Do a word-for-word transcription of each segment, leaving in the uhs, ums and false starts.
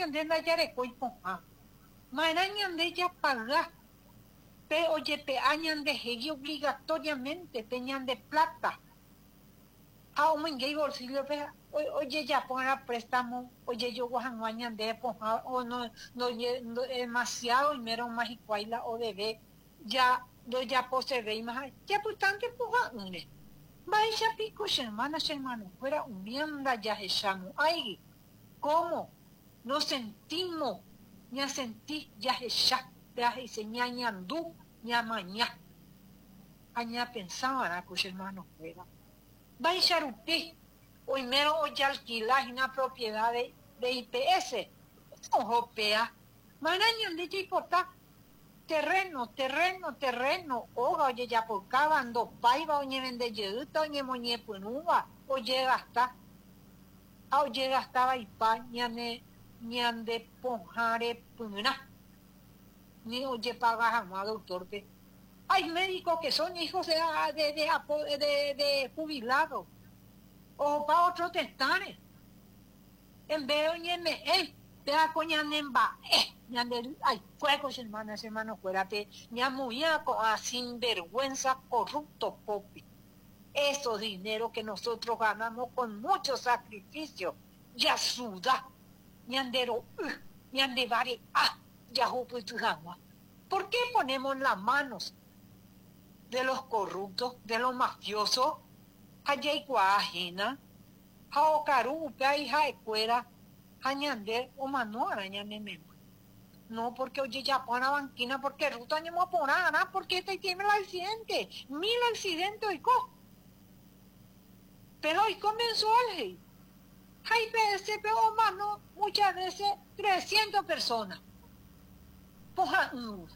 Ñande ndajarekói pohã. Maerã ñande japaga pe ojepe'a ñandehegui obligatoriamente pe ñande plata ha omoinge ibolsillo-pe ojejapo préstamo ojejogua hag̃ua ñande pohã o no, no, no demasiado oimérõ hikuái la odebe ya ndojaposevéima ha japytánte pohã'ỹre. Mba'éichapiko che hermana, che hermanokuéra umi ndajahechamo'ãigui. ¿Cómo nos sentimos? Ñasenti jahecha jaheise ñañandu ñamaña ha ñapensava'erã ko che hermanokuéra. Mba'éicha rupi oimérõ ojealquila propiedad de, de I P S oho péa. Maerã ñande jaipota terreno, terreno, terreno, óga ojejapokáva ndopáiva oñevendejeýta oñemoñepyrũva ojegasta ha ojegastavaipa ñane ñande pohã repyrã ni ojepaga hag̃ua doctor-pe. Hay médicos que son hijos de, de, de, de, de jubilados ohopa otro tetãre en vez de oñeme'ẽ péako ñanemba'e ñande aikuéko che hermana, che hermanokuérape ñamoĩa ko'ã sinvergüenza corrupto pópe. Esos dinero que nosotros ganamos con mucho sacrificio, jasuda ñande ro'y ñande vare'a jahupyty hag̃ua. ¿Por qué ponemos las manos de los corruptos, de los mafiosos? Ha jaikuaahína ha okaru upe ha'ekuéra ha ñande omano'arã ñane memby. No, porque ojejapo banquina, porque ruta ñemoporã'arã, porque este tiene el accidente, mil accidentes oiko. Pero oiko mensual, hey. Ha I P S omano muchas veces trescientas personas. Pohã'ỹ.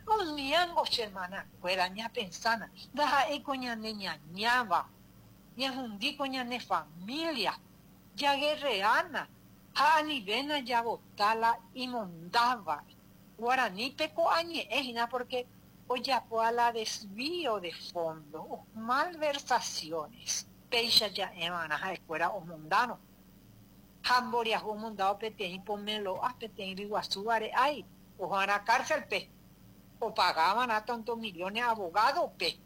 Umíango che hermanakuéra ñapensana ndaha'éiko ñane ñañáva ñahundíko ñane familia jaguerreana ha anivéna javotala imondáva. Guaranípe ko'ã ñe'ẽ hína porque ojapo a la desvío de fondo, malversaciones. Péicha ja'eva'erã ha'ekuéra omondárõ ha mboriahu omondáo peteĩ pomelo'a peteĩ ryguasu vare'ái oho'arã cárcel-pe opagava'erã tanto millones abogado-pe.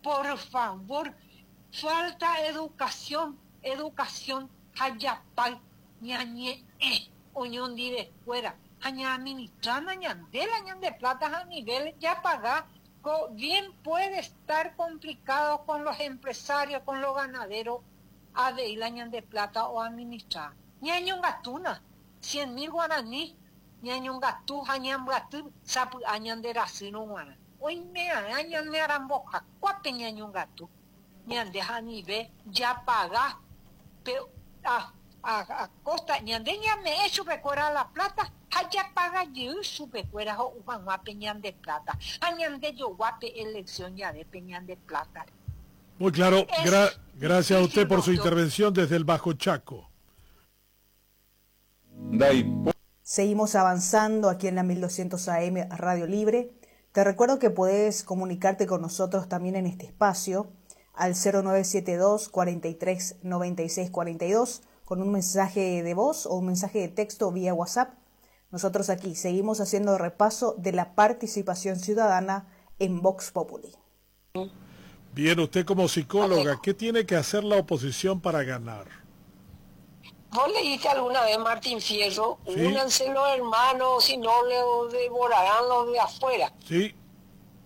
Por favor, falta educación, educación ha japáy ñañe'ẽ oñondivekuéra ha ñaadministrana ñande la ñande plata a nivel japaga. Bien puede estar complicado con los empresarios, con los ganaderos, avei la ñande plata o administrar. Ñañongatúna cien mil guaraní ñañongatu ha ñambyaty sapy'a ñande rasýrõ g̃uarã oime'arã ñane arambohakuápe ñañongatu ñande ha anive japaga pe a, a, a costa ñande ñame'ẽ chupekuéra la plata ha japaga jey chupekuéra ho'u hag̃ua pe ñande plata ha ñande jogua pe elección jave pe ñande plata. Muy claro. Gra gracias a usted por su intervención desde el Bajo Chaco. Seguimos avanzando aquí en la mil doscientos A M Radio Libre. Te recuerdo que puedes comunicarte con nosotros también en este espacio al cero nueve siete dos cuarenta y tres noventa y seis cuarenta y dos con un mensaje de voz o un mensaje de texto vía WhatsApp. Nosotros aquí seguimos haciendo repaso de la participación ciudadana en Vox Populi. Bien, usted como psicóloga, ¿qué tiene que hacer la oposición para ganar? ¿Vos leíste alguna vez Martín Fierro? Sí. Únanse los hermanos, si no le devorarán los de afuera. Sí.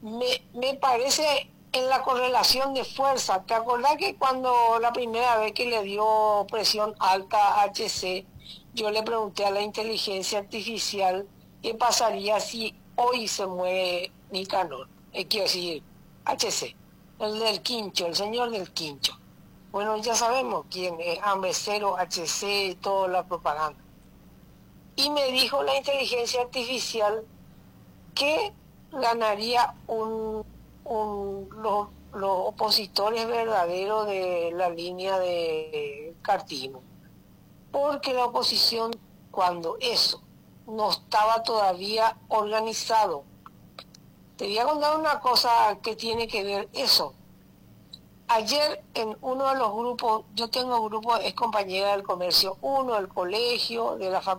Me, me parece en la correlación de fuerza. ¿Te acordás que cuando la primera vez que le dio presión alta a H C, yo le pregunté a la inteligencia artificial qué pasaría si hoy se muere Nicanor? Eh, quiero decir, H C, el del quincho, el señor del quincho. Bueno, ya sabemos quién es, hambre cero, H C, toda la propaganda. Y me dijo la inteligencia artificial que ganaría un, un, los, los opositores verdaderos de la línea de cartismo. Porque la oposición, cuando eso no estaba todavía organizado, te voy a contar una cosa que tiene que ver eso. Ayer en uno de los grupos, yo tengo grupos, es compañera del comercio uno, del colegio, de la facultad.